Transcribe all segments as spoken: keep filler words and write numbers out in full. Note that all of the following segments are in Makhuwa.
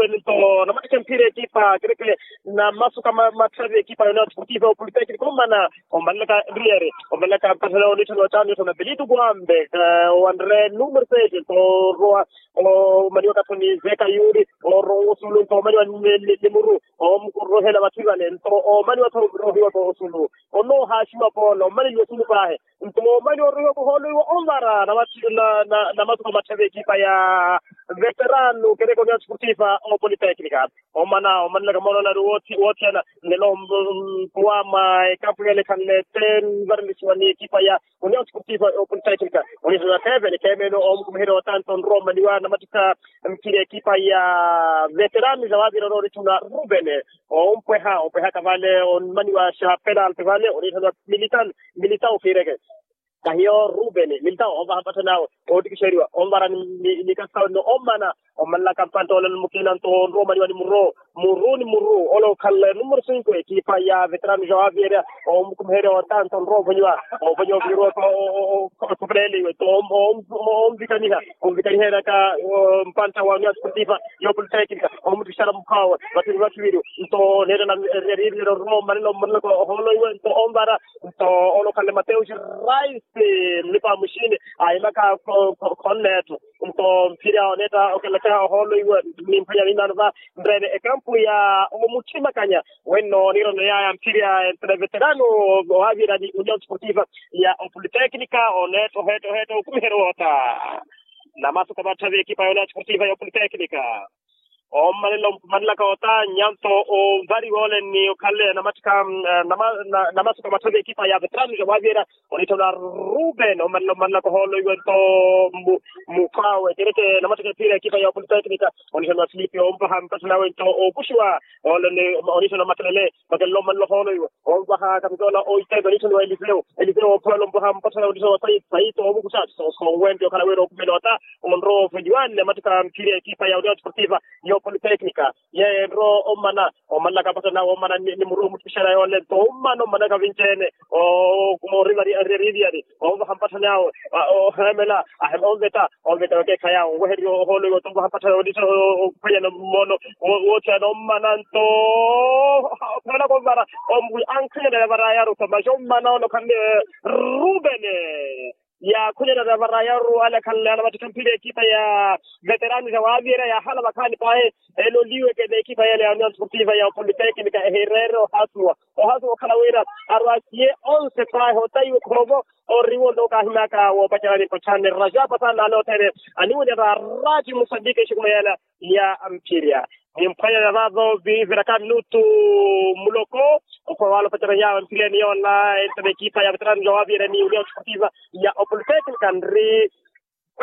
Nto namattikha mphira ekipa kereke namasuka matthavi ekipa yona ya otipotipa ya opolitekniko omana omanlaka riyari omanlaka mpatthana onittha nottano nittha na pelitu kuwambe owanre numero sete nto orrowa omaniwa kathoni zeka yuri orrowa osulu nto omaniwa ni muru omukurrohela vathivale nto omaniwa tho rohiwa tho osulu onoohaxiwa polo omaneliwa osulu pahe nto omani orohiwa kuhoolo iwo onvara namasuka matthavi ekipa ya veterano kereke oniya otipotipa opoliteknika omana omanelaka moona onari woothiyana nelo mpuwa mwa ekampu yelekhanle te nvarelisiwa ni ekipa ya oniya otipotipa opoliteknika oniya tena kevene kemene omukumiherya otanto onrowa omaniwa namattikha mphira ekipa ya veterano ja wavira onooritthuna ruben ompweha ompwehaka vale onmaniwa xa penalti vale onithaniwa militao militao fireke kahiyo ruben militao onvaha mpatthani awe oottikixeriwa onvara ni kasawe ni omana omanlaka mpantta olelo mukina nto onrowa omaniwa ni muru muru ni muru ole okhanle numero cinco ekipa ya veterano ja waviyerya omukumiherya otanto onrowa ovonyiwa ovonyiwa ovonyiwa okhupeleleiwe nto onvikaniha onvikaniha enaka mpantta wa union sportiva yopoliteknika omutthixala mukhawe vathiri vathiviri nto neettela eriyeriyeryo roma nelo mmanelaka ohoolo iwe nto onvara nto olokhanle mateo xirais mlipa muxini ahimaka khonneetto nto mphira oneetta okelaka ohoolo iwe nimphwanya mimano va nreene ekampu ya omuthimakanya wenno niirano yaya mphira entela eveterano owavira ni union sportiva ya opoliteknika oneetta oheetta oheetta okumiherya woota namasuka matthavi ekipa ya union sportiva ya opoliteknika ommanela ommanelaka otaanya nto ovariwa ole ni okhanle namattikha namasuka matthavi ekipa ya veterano ja wavira onitthaniwa ruben ommanela ommanelaka ohoolo iwe nto mukhwawe kereke namattikha ephira ekipa ya opoliteknika onitthaniwa filipi ompaha mpatthani awe nto okuxiwa ole ni onitthaniwa makelele makelele ommanela ohoolo iwe omvaha kapitola oiteka onitthaniwa eliseo eliseo ophwela omvaha mpatthani awe onitthaniwa saito omukuxa sonwente okhala wira okumela ota onrowa ofelioane mattika mphiri ekipa ya union sportiva yopoliteknika yeye nrowa omana omanlaka mpatthani awe omana ni muru omutthixela yoole nto omana omanaka vinci-ene orivariariyari onvaha mpatthani awe oheemela onveta onveta wekeekhayi awe onwehererya ohoolo iwe oto onvaha mpatthani awe onitthana ophwanyana mmono woothiyana omana nto ophwelaka onvara ankhanyanela varayaru tho maxi omana ole okhanle rubene yaakhunyanela varayaru ale akhanle ale amattikha mphira ekipa ya veterano ja waviyerya yaahala vakhaani pahi eloliweke n'ekipa yale ya union sportiva ya opoliteknika ehireere ohasuwa ohasuwa okhala wira arwasiye onse pahi otayiwe khoovo oriwo nto kaahimyaka woopacerani mpatthani rajapa sana ale othene aniwinera radio musambika exikuma yala ya mphirya nimphwanyana vavo viviraka minutu muloko okhuwa wala opacerani yawe mphirya ni yola entela ekipa ya veterano ja waviyerya ni union sportiva ya opoliteknika nri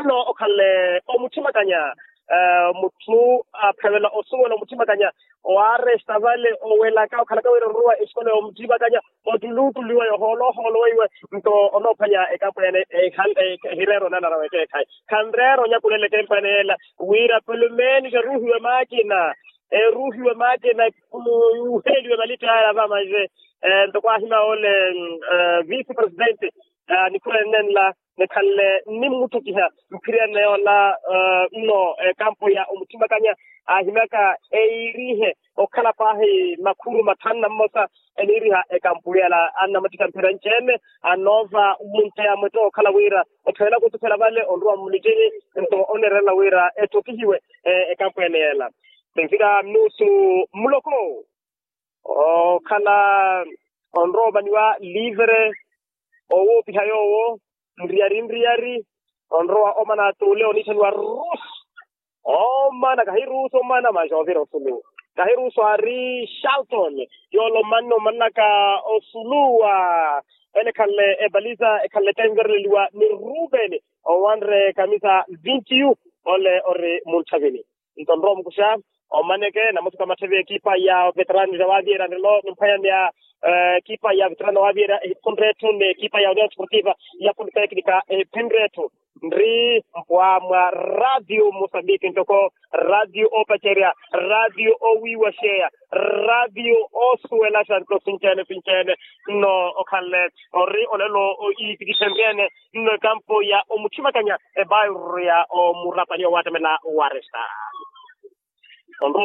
nno okhanle omuthimakanya mutthu aphewela osuwela omuthimakanya owaresta vale owelaka okhalaka wira oruwa exikola yomuthimakanya ottuluttuluwa yohoolo ohoolo weiwe nto onoophwanya ekampu ene ehireera onanara wekeekhayi khanreera onyakulela ekempu ene yeela wira pelumeni xaruhiwe maakina eruhiwe maakina yuheliwe malitto yaya vamaxe ntoko ahima ole vice presidente nikhurennenla nikhanle nimmuttukiha mphiryanne yoola nno ekampu ya omuthimakanya ahimyaka eirihe okhala paahi makhuru mathanu na mmosa eniiriha ekampu yela annamattikha mphira nci-ene anoova wunteya mwetto okhala wira othowelaka otukhela vale onruwa mmulittini nto oneererela wira ettokihiwe ekampu ene yela sinfika minutu muloko okhala onrowa omaniwa livre owoopiha yoowo nriyari nriyari onrowa omana atuule onitthaniwa rusu omana kahirusu omana maxa ovira osulu kahirusu ari shalton yoola omanna omanaka osulu wa ele ekhanle epalisa ekhanle tenvereleliwa ni ruben owanre kamisa vintiyu ole ori munthavini nto nrowa omukuxa omaneke namasuka matthavi ekipa ya veterano ja waviyerya nrelo nimphwanya ni ekipa ya veterano waviyerya ehiphinre etthu ni ekipa ya union sportiva ya politeknika ehiphinre etthu nri mpwa mwa radio mosambiki ntoko radio opacerya radio owiiwaxeya radio osuwelaxa nto sinci-ene sinci-ene nno okhanle ori olelo iitikixenrye-ene nno ekampu ya omuthimakanya ebairuru ya omurapani owattamela waresta